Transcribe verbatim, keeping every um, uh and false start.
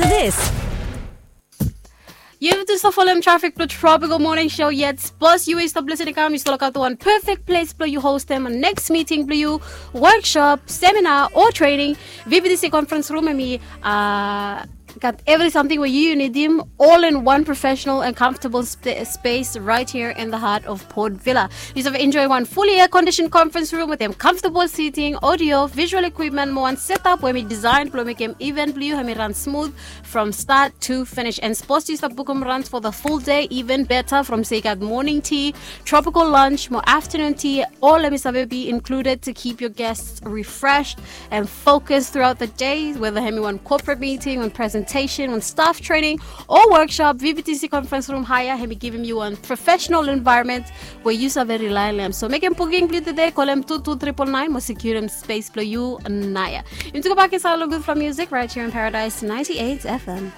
This. Yu tu stap folem trafik blong Tropical Morning Show yet. Sapos yu we yu stap lisin i kam, yu stap lukaot wan perfect ples blong yu hostem next meeting blong yu, workshop, seminar o training. V B T C conference room hemi uh, gat evri samting we yu nidim, all in one professional and comfortable sp- space right here in the heart of Port Vila. Yu save enjoy wan fully air conditioned conference room wetem comfortable seating, audio, visual equipment mo wan setup we hemi design blong mekem event blong yu hemi run smooth from start to finish. And sapos yu stap bukum runs for the full day, even better, from se yu gat morning tea, tropical lunch mo afternoon tea, all hemi save be included to keep your guests refreshed and focused throughout the day, whether hemi wan corporate meeting, wan presentation, wan staff training o workshop. V B T C conference room hire hemi givim yu wan professional environment we yu save rely long hem. So mekem booking blong yu tede, kolem two two triple nine mo securum space blong yu naoia. Yumi tu gobak insaed long gudfala music right here in Paradise ninety-eight F M.